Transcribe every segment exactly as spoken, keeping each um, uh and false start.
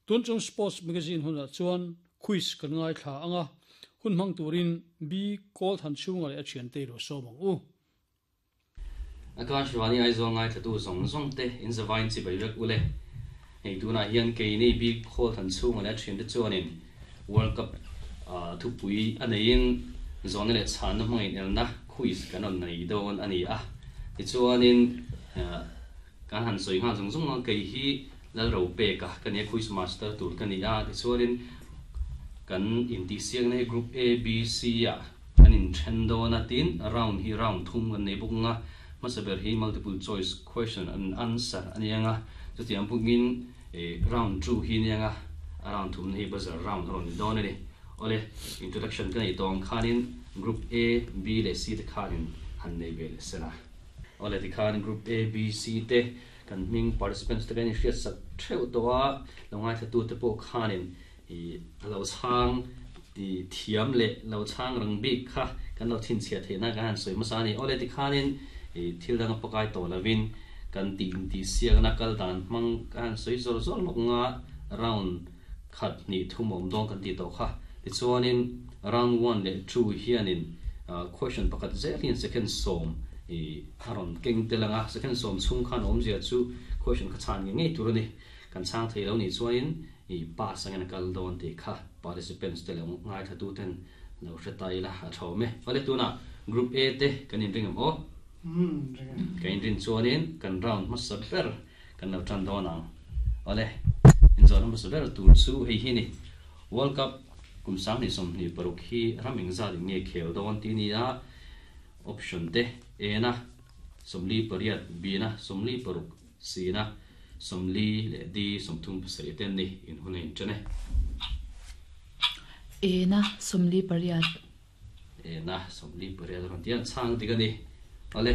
Tun tum Sports Magazine hunah chuan quiz kan ngaithla anga, hun hmang turin B Kawlthanchhunga leh a thiante i lo sawm ang u. Akashvani Aizawl ngaithlatu zawng zawng te in zavain chibai vek ule. Hei tunah hian keini bik Kawlthanchhunga leh a thiante chuanin World Cup thupui a neiin zawhna leh chhanna hmangin elna quiz kan rawn nei dawn a ni a. Tichuanin kan han sawi nghal zawng zawng a, kei hi Lalropeka ka nia, quiz master tur ka ni a. Tichuanin kan intihsiakna hi Group A, B, C ah kan inthen dawn a, tin round hi round thum kan nei bawk ang a. Hmasa ber hi multiple choice question and answer a ni ang a, chutiang bawkin round two hi a ni ang a, a round thumna hi buzzer round a rawn ni dawn a ni. Awle, introduction ka neih tawh ang khanin Group A, B leh C te khanin han nei ve leh se la. Awle, tikhan Group A, B, C te kan hming participants te kan inhriatsak theuh tawh a, lo ngaithlatute pawh khanin i a lo chhang ti thiam leh lo chhang rang bik kha kan lo chhinchhiah theihna kan han sawi hmasa a ni. Awle, tikhanin i thil dang a pakai tawh lovin kan tih intihsiakna kal dan hmang kan han sawi zawr zawr lawk nga, round khat hnih thum a awm dawn kan tih tawh kha. Tichuanin round one leh two hianin question pakhat zel hian second sawm i a rawn keng tel ang a, second sawm chhung khan awmzia chu question kha chhan ngei ngei tur a ni. Kan chhang thei lo nih chuanin i pass angin a kal dawn tih kha participants te leh ngaithlatuten lo hre ta ila a tha awm e. Awle, tunah Group A te kan inring ang aw? Kan inrin chuanin kan round hmasa ber kan lo tan dawn ang. Awle, inzawhna hmasa ber tur chu hei hi ni. World Cup kum sanghnih sawmhnih paruk hi ram engzat in nge khel dawn tih a ni a, option te A na sawmli pariat, B na sawmli paruk, C na sawmli leh D sawmthum pasarih te an ni. In hun a inṭan e. A na sawmli pariat. A na sawmli pariat a rawn ti a, chhang dik a ni. Awle,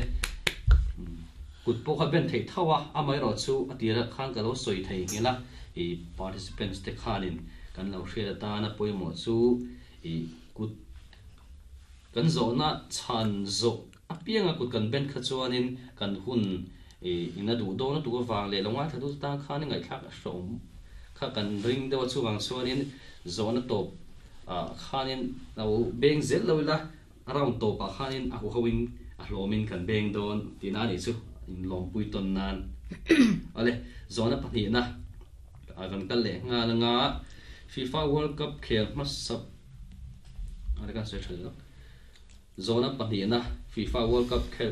kut pawh kha ben theih tho a, amaherawh chu a tirah khan ka lo sawi thei nghilh a, i participants te khanin kan lo hriat atana pawimawh chu i kut kan zawhna chhan zawh apianga kut kan ben kha chuanin kan hun i in a duh dawn a tuk avang leh lo ngaithla tu tan khan ngaihthlak a hrawm kha kan ring deuh a, chuvang chuanin zawhna tawp ah khanin lo beng zel lo ila, a round tawpah khanin a huhoin a hlawmin kan beng dawn tihna a nih chu, inlawmpui tawn nan. Awle, zawhna pahnihna ah kan kal leh nghal anga, FIFA World Cup khel hmasa a kan sawi tha leh lawk. Zawhna pahnihna, FIFA World Cup khel